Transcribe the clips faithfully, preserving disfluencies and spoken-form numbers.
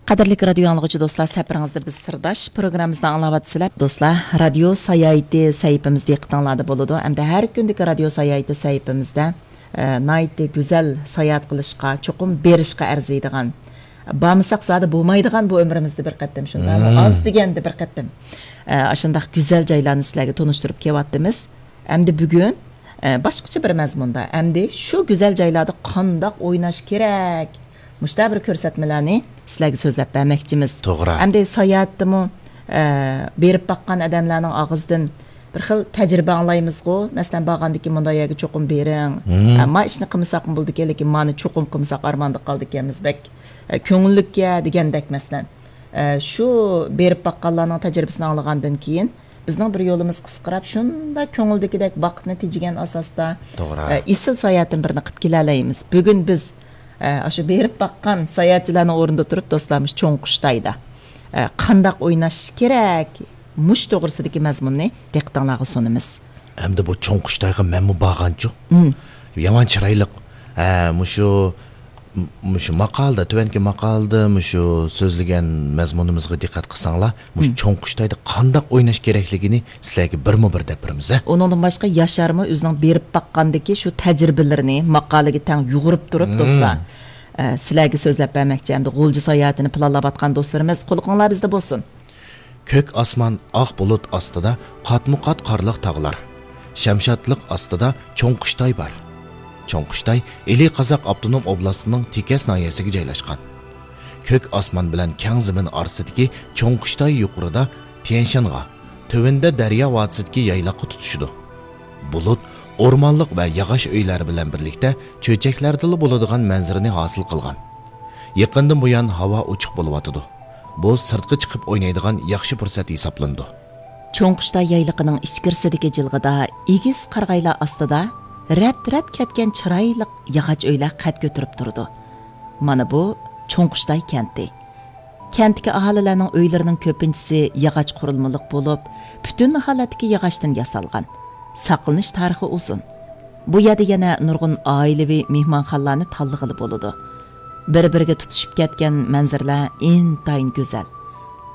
قەدىرلىك رادىيو ئاڭلىغۇچى دوستلار، سەپىرىڭىزدە بىز سىرداش پروگراممىمىزنى ئاڭلاۋاتىسىلەر. دوستلار، رادىيو ساياھىتى سەھىپىمىز دىققىتىڭلاردا بولىدۇ. ئەمدى ھەر كۈندىكى رادىيو ساياھىتى سەھىپىمىزدە، ئە، ناھايىتى گۈزەل ساياھەت قىلىشقا، چوقۇم بېرىشقا ئەرزىيدىغان، بارمىساق زادى بولمايدىغان بۇ ئۆمرىمىزدە بىر قېتىم، شۇنداقمۇ؟ مم. ئاز دېگەندە بىر قېتىم، ئە، ئاشۇنداق گۈزەل جايلارنى سىلەرگە تونۇشتۇرۇپ كېلىۋاتىمىز. ئەمدى بۈگۈن، ئە، باشقىچە بىر مەزمۇندا، ئەمدى شۇ گۈزەل جايلاردا قانداق ئويناش كېرەك؟ مۇشۇنداق بىر كۆرسەتمىلەرنى سىلەرگە سۆزلەپ بەرمەكچىمىز. توغرا. ئەمدى ساياھەتتىمۇ، ئە، بېرىپ باققان ئادەملەرنىڭ ئاغزىدىن بىر خىل تەجرىبە ئاڭلايمىزغۇ. مەسىلەن، بارغاندىن كېيىن مۇنداق يەرگە چوقۇم بېرىڭ. مم. ئە، ما ئىشنى قىلمىساقمۇ بولىدىكەن، لېكىن مانى چوقۇم قىلمىساق ئارماندا قالىدىكەنمىز، بەك، ئە، كۆڭۈللۈككەن دېگەندەك، مەسىلەن. ئە، شۇ بېرىپ باققانلارنىڭ تەجرىبىسىنى ئاڭلىغاندىن كېيىن، بىزنىڭ بىر يولىمىز قىسقىراپ، شۇنداق كۆڭۈلدىكىدەك ۋاقىتنى تېجىگەن ئاساستا، توغرا. ئە، ئېسىل ساياھەتتىن بىرنى قىلىپ كېلەلەيمىز. بۈگۈن بىز، ئە، ئاشۇ بېرىپ باققان ساياھەتچىلەرنىڭ ئورنىدا تۇرۇپ، دوستلار، مۇشۇ چوڭ قۇشتايدا، ئە، قانداق ئويناش كېرەك؟ مۇشۇ توغرىسىدىكى مەزمۇننى دىققىتىڭلارغا سۇنىمىز. ئەمدى بۇ چوڭ قۇشتايغا مەنمۇ بارغانچۇ؟ مم. يامان چىرايلىق. ھە، مۇشۇ مۇشۇ ماقالىدا، تۆۋەنكى ماقالىدا مۇشۇ سۆزلىگەن مەزمۇنىمىزغا دىققەت قىلساڭلار، مۇشۇ مم. چوڭ قۇشتايدا قانداق ئويناش كېرەكلىكىنى سىلەرگە بىرمۇ بىر دەپ بېرىمىز، ھە؟ ئۇنىڭدىن باشقا ياشارمۇ ئۆزىنىڭ بېرىپ باققاندىكى شۇ تەجرىبىلىرىنى ماقالىگە تەڭ يۇغۇرۇپ تۇرۇپ، مم. دوستلار، ئە، سىلەرگە سۆزلەپ بەرمەكچى. ئەمدى غۇلجا ساياھىتىنى پىلانلاۋاتقان دوستلىرىمىز، قۇلىقىڭلار بىزدە بولسۇن. كۆك ئاسمان، ئاق بۇلۇت ئاستىدا قاتمۇقات قارلىق تاغلار. شەمشادلىق ئاستىدا چوڭ قۇشتاي بار. چوڭ قۇشتاي ئىلى قازاق ئاپتونوم ئوبلاستىنىڭ تېكەس ناھىيەسىگە جايلاشقان. كۆك ئاسمان بىلەن كەڭ زېمىن ئارىسىدىكى چوڭ قۇشتاي يۇقىرىدا تيەنشانغا، تۆۋىنىدە دەريا ۋادىسىدىكى يايلاققا تۇتىشىدۇ. بۇلۇت ئورمانلىق ۋە ياغاچ ئۆيلەر بىلەن بىرلىكتە چۆچەكلەردىلا بولىدىغان مەنزىرىنى ھاسىل قىلغان. يېقىندىن بۇيان ھاۋا ئوچۇق بولۇۋاتىدۇ. بۇ سىرتقا چىقىپ ئوينايدىغان ياخشى پۇرسەت ھېسابلىنىدۇ. چوڭقۇشتاي يايلىقىنىڭ ئىچكىرىسىدىكى جىلغىدا ئېگىز قارىغايلار ئاستىدا رەت-رەت كەتكەن چىرايلىق ياغاچ ئۆيلەر قەد كۆتۈرۈپ تۇرىدۇ. مانا بۇ چوڭقۇشتاي كەنتى. كەنتتىكى ئاھالىلەرنىڭ ئۆيلىرىنىڭ كۆپىنچىسى ياغاچ قۇرۇلمىلىق بولۇپ، پۈتۈن ھالەتتىكى ياغاچتىن ياسالغان. ساقلىنىش تارىخى ئۇزۇن. بۇ يەردە يەنە نۇرغۇن ئائىلىۋى مېھمانخانىلارنى تاللىغىلى بولىدۇ. بىر-بىرىگە تۇتىشىپ كەتكەن مەنزىرىلەر ئىنتايىن گۈزەل.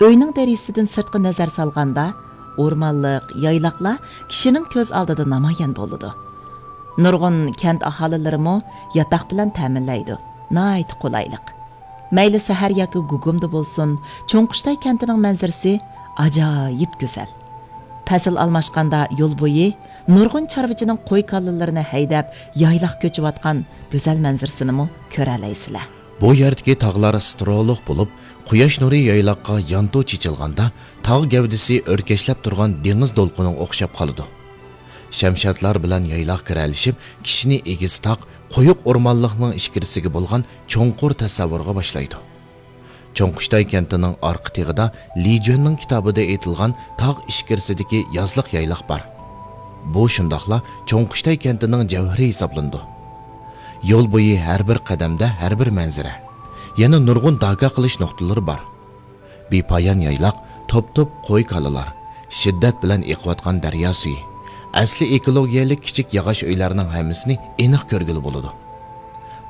ئۆينىڭ دېرىزىسىدىن سىرتقا نەزەر سالغاندا، ئورمانلىق، يايلاقلار كىشىنىڭ كۆز ئالدىدا نامايان بولىدۇ. نۇرغۇن كەنت ئاھالىلىرىمۇ ياتاق بىلەن تەمىنلەيدۇ. ناھايىتى قولايلىق. مەيلى سەھەر ياكى گۇگۇمدا بولسۇن، چوڭقۇشتاي كەنتىنىڭ مەنزىرىسى ئاجايىپ گۈزەل. پەسىل ئالماشقاندا يول بويى نۇرغۇن چارۋىچىنىڭ قوي-كالىلىرىنى ھەيدەپ، يايلاق كۆچۈۋاتقان گۈزەل مەنزىرىسىنىمۇ كۆرەلەيسىلەر. بۇ يەردىكى تاغلار سترولۇق بولۇپ، قۇياش نۇرى يايلاققا يانتۇ چېچىلغاندا، تاغ گەۋدىسى ئۆركەشلەپ تۇرغان دېڭىز دولقۇنىغا ئوخشاپ قالىدۇ. شەمشادلار بىلەن يايلاق كىرەلىشىپ، كىشىنى ئېگىز تاغ، قويۇق ئورمانلىقنىڭ ئىچكىرىسىگە بولغان چوڭقۇر تەسەۋۋۇرغا باشلايدۇ. چوڭقۇشتاي كەنتىنىڭ ئارقا تېغىدا لى جۈەننىڭ كىتابىدا ئېيتىلغان تاغ ئىچكىرىسىدىكى يازلىق يايلاق بار. بۇ شۇنداقلا چوڭقۇشتاي كەنتىنىڭ جەۋھىرى ھېسابلىنىدۇ. يول بويى ھەر بىر قەدەمدە ھەر بىر مەنزىرە، يەنە نۇرغۇن داكا قىلىش نۇقتىلىرى بار. بىپايان يايلاق، توپ-توپ قوي-كالىلار، شىددەت بىلەن ئېقىۋاتقان دەريا سۈيى، ئەسلى ئېكولوگىيەلىك كىچىك ياغاچ ئۆيلەرنىڭ ھەممىسىنى ئېنىق كۆرگىلى بولىدۇ.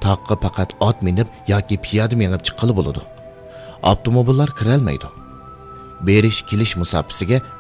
تاغقا پەقەت ئات مىنىپ ياكى پىيادە مېڭىپ چىققىلى بولىدۇ. ئاپتوموبىللار كىرەلمەيدۇ. بېرىش-كېلىش مۇساپىسىگە